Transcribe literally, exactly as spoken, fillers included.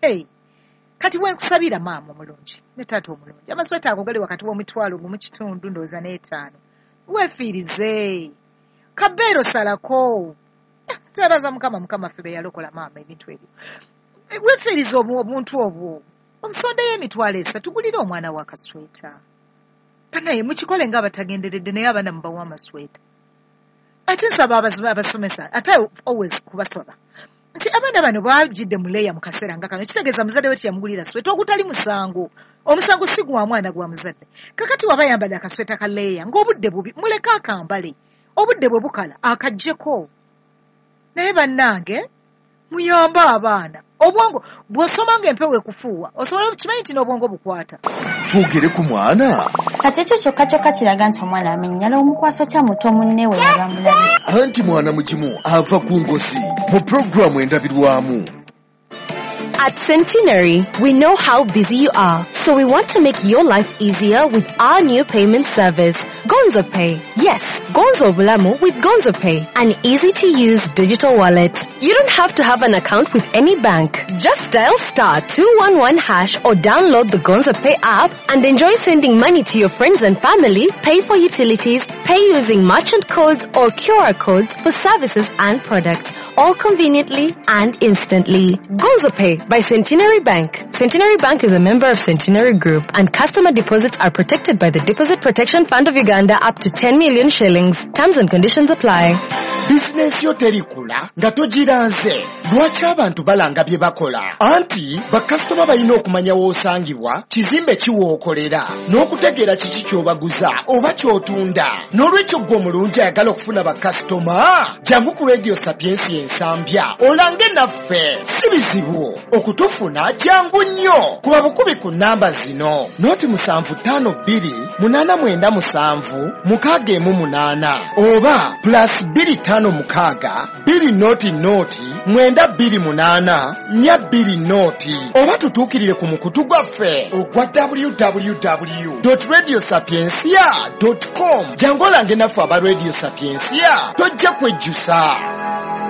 Hey, kati wenkusabira maama omulungi ne taata omulungi, amasweta ago gali wakati w'omitwalo gumu kitundu ndowooza n'etaano. Weefiirize kabeero, salako. Twebaza Mukama, Mukama ffe be yalokola maama ebintu ebyo. Weefiirize obuntu obwo, omusondeyo emitwalo esatu, gulire omwana wa kasweta. Banaye mukikole nga abatagenderedde, naye abaana mubawa amasweta. Ate nsaba abasomesa, ate always kubasaba nti abaana bano bajjidde mu layer mu kaseera nga kano, kitegeeza muzadde we teyamugulira sweta, ogutali musango. Omusango si gwa mwana, gwa muzadde. Kakati waba yambadde akasweta ka layer ng'obudde bubi, muleke akambale, obudde bwe bukala akaggyeko. Naye bannange, muyambe abaana. Obwongo bw'osoma ng'empewo ekufuuwa, osobola kimanyi nti n'obwongo bukwata. Twogere ku mwana. Kati ekyo kyokka kyokka kiraga nti omwana amenyala. Omukwasa kya muto munne we yaba mulabe. Anti mwana mugimu ava ku ngosi mu pulogulaamu Endabirwamu. At Centenary, we know how busy you are, so we want to make your life easier with our new payment service, Gonzo Pay. Yes, Gonzo Bulamu with Gonzo Pay, an easy-to-use digital wallet. You don't have to have an account with any bank. Just dial star two one one hash or download the Gonzo Pay app and enjoy sending money to your friends and family, pay for utilities, pay using merchant codes or Q R codes for services and products, all conveniently and instantly. Gonzo Pay by Centenary Bank. Centenary Bank is a member of Centenary Group, and customer deposits are protected by the Deposit Protection Fund of Uganda up to ten million shillings. Terms and conditions apply. Bizinensi yo terikula nga togiranze. Lwaki abantu balanga bye bakola? Anti bakasitoma balina okumanya w'osangibwa, kizimbe ki w'okolera, n'okutegeera kiki ky'obaguza oba ky'otunda. N'olwekyo ggwe omulungi ayagala okufuna bakasitoma, jangu ku Radio Sapiensia Ensambya olange naffe. Si bizibu okutufuna, jangu nnyo. Kuba bukubi ku namba zino: noti musanvu ttaano bbiri munaana mwenda musanvu mukaaga emu munaana oba plus bbiri ttaano mukaaga bbiri noti noti mwenda bbiri munaana nnya bbiri noti, oba tutuukirire ku mukutu gwaffe ogwa W W W radio sapiencia com. Jangu olange naffe aba Radio Sapiencia, tojja kwejjusa.